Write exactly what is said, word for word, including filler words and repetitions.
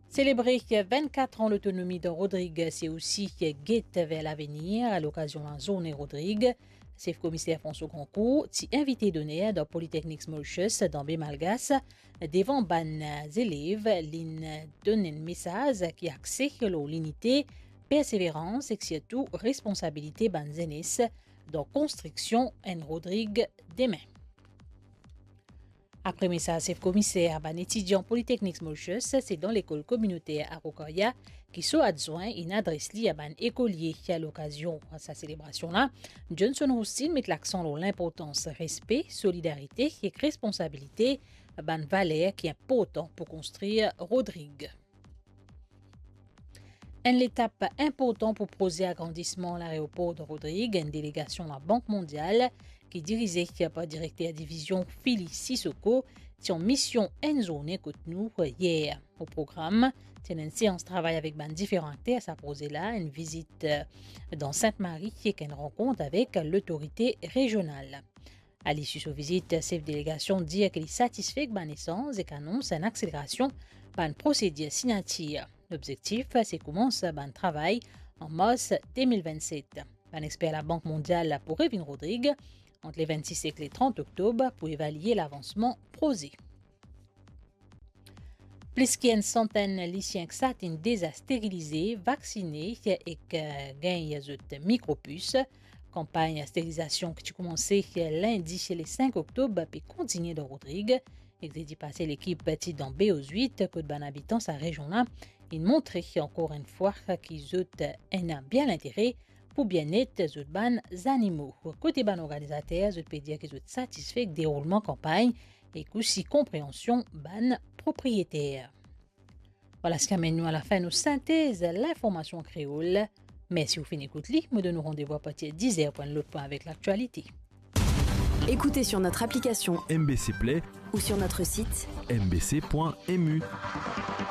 Selebre vennkat an lotonomi dan Rodrig, se osi get ver lavenir. Lokazion Lazourne Rodrig, sef komiser François Grandcourt ti invite doner dan Polytechnique Mauritius dan Baie Malgache. Devan bann zelev, linn donn enn mesaz ki axe lor linite, perseverans ek sirtou responsabilite bann zenes dan konstriksion enn Rodrig demin. Apre mesaz sef komiser, bann etidian Polytechnique Mauritius, se dan lekol kominoter Araucaria ki so adwin inn adres li a bann ekolie. A lokazion sa selebrasion la, Johnson Roustin met laksan lor linportans respe, solidarite ek responsabilite, bann valer ki inportan pou konstrir Rodrig. Enn letap inportan pou proze agrandisman laeropor de Rodrig, enn delegasion Labank Mondial ki dirize par direkter divizion Philly Sissoko ti an mision enn zourne kot nou yer. O program, ti ena enn seans travay avek bann diferan akter sa proze la, enn vizit, eh, dan Sint-Mari ek enn rankont avek lotorite rezional. A lisi so vizit, sef delegasion dir ki li satisfe ek bann esanz ek anons enn akselerasion bann prosedir signatir. Lobzektif, se koumans bann travay an mars de mil vennset. Bann exper Labank Mondial pou revinn Rodrig ant le vennsis ek le trant oktob pou evalie lavansman proze. Plis ki enn santenn lisien ki sa inn deza sterilize, vaksine ek, eh, gagn zot mikropis. Kanpagn sterilizasion ki ti koumanse lindi le sink oktob pe kontinie dan Rodrig. Ek zedi pase, lekip ti dan Baie aux Huîtres, kot bann abitan sa rezion la inn montre ankor enn fwa ki zot ena bien lintere pou bienet zot bann zanimo. Kote bann organizater, zot pe dir ki zot satisfe ek deroulman kanpagn ek osi konpreansion bann propriyeter. Vwala seki amenn nou a lafin nou sintez linformasion an kreol. Mersi ou finn ekout li. Mo donn ou randev apartir diz er pou enn lot pwin avek laktialite. Écoutez sur notre application M B C Play ou sur notre site M B C point M U.